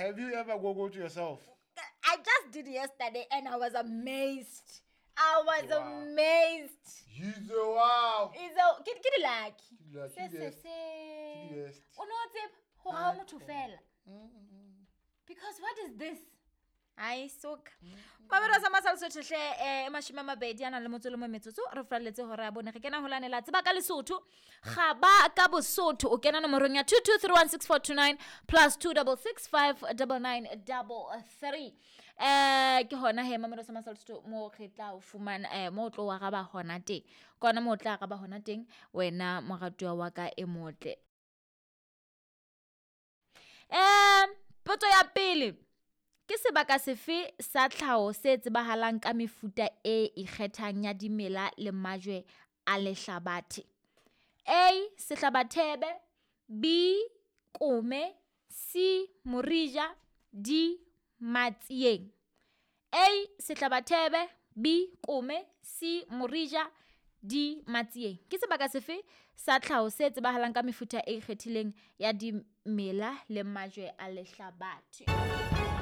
Have you ever googled yourself? I just did yesterday and I was amazed. I was Wow. amazed. He's a wow. Is a ke ke di lucky. Ke di-lucky, Se se best. se. Ke di best. O no tseba hore ha o motho fela. Because what is this? Ai soka. Mabelo sa masal Sotho hle 20 a nang le motso le mo metsotso re furaletse hore a bone re kena holane la tseba ka Lesotho ga ba ka Bosotho o kena nomorong ya 22316429 plus 26659933 ke hona he mamelo sa masal Sotho mo re tla o fumana mo o tlo wa raba hona teng ke hona mo o tla araba hona teng wena moratuwa wa ka e motle. Potso ya pele ke sebaka sefe sa tlhaho se tsebahalang ka mefuta e ikgethang ya dimela le majwe a lehlabathe? A. Sehlabathebe, B. Kome, C. Morija, D. Matsieng. A. Sehlabathebe, B. Kome, C. Morija, D. Matsieng. Ke sebaka sefe sa tlhaho se tsebahalang ka mefuta e ikgethileng ya dimela le majwe a lehlabathe?